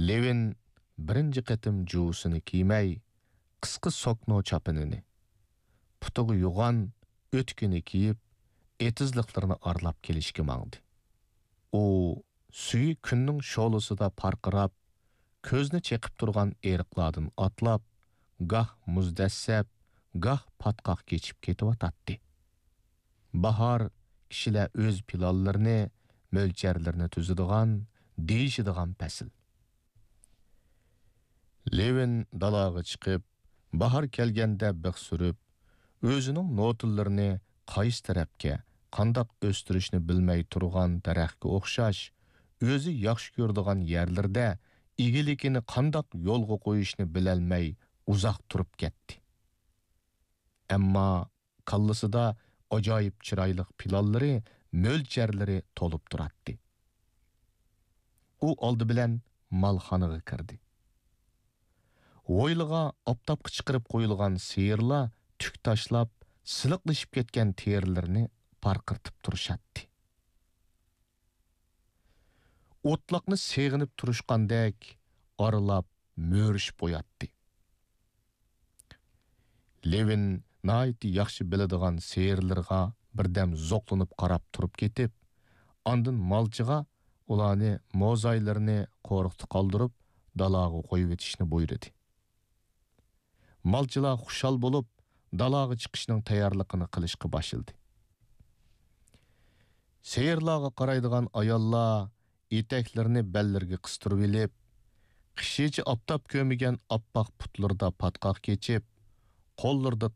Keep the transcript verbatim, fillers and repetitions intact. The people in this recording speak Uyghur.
لېۋىن بىرىنچى قېتىم جۇۋىسىنى كىيمەي، قىسقا سوكنو چاپىنىنى، پۇتىغا يوغان ئۆتۈكىنى كىيىپ، ئېتىزلىقلىرىنى ئارىلاپ كېلىشكە ماڭدى. ئۇ سۈيى كۈننىڭ شولىسىدا پارقىراپ، كۆزنى چېقىپ تۇرغان ئېرىقلاردىن ئاتلاپ، گاھ مۇز دەسسەپ، گاھ پاتقاق كېچىپ كېتىۋاتاتتى. باھار كىشىلەر ئۆز پىلانلىرىنى، مۆلچەرلىرىنى تۈزىدىغان، دېيىشىدىغان پەسىل. لېۋىن دالاغا چىقىپ، باھار كەلگەندە بىخ سۈرۈپ، ئۆزىنىڭ نوتىلىرىنى قايسى تەرەپكە، قانداق ئۆستۈرۈشنى بىلمەي تۇرغان دەرەخكە ئوخشاش، ئۆزى ياخشى كۆرىدىغان يەرلىرىدە ئىگىلىكىنى قانداق يولغا قويۇشنى بىلەلمەي ئۇزاق تۇرۇپ كەتتى. ئەمما كاللىسىدا ئاجايىپ چىرايلىق پىلانلىرى، مۆلچەرلىرى تولۇپ تۇراتتى. ئۇ ئالدى بىلەن مالخانىغا كىردى. ھويلىغا ئاپتاپقا چىقىرىپ قويۇلغان سىيىرلار تۈك تاشلاپ، سىلىقلىشىپ كەتكەن تېرىلىرىنى پارقىرىتىپ تۇرۇشاتتى. ئوتلاقنى سېغىنىپ تۇرۇشقاندەك ئارىلاپ مۆرىشىپ قوياتتى. لېۋىن ناھايىتى ياخشى بىلىدىغان سېرىلىرىغا بىردەم زوقلىنىپ قاراپ تۇرۇپ كېتىپ، ئاندىن مالچىغا ئۇلارنى موزايلىرىنى قورۇقتا قالدۇرۇپ، دالاغا قويۇۋېتىشنى بۇيرۇدى. مالچىلار خۇشال بولۇپ، دالاغا چىقىشنىڭ تەييارلىقىنى قىلىشقا باشلىدى. سېرىلارغا قارايدىغان ئاياللار ئېتەكلىرىنى بەللىرىگە قىستۇرۇۋېلىپ، قىشىچە ئاپتاپ كۆرمىگەن ئاپئاق پۇتلىرىدا پاتقاق كېچىپ، قوللىرىدا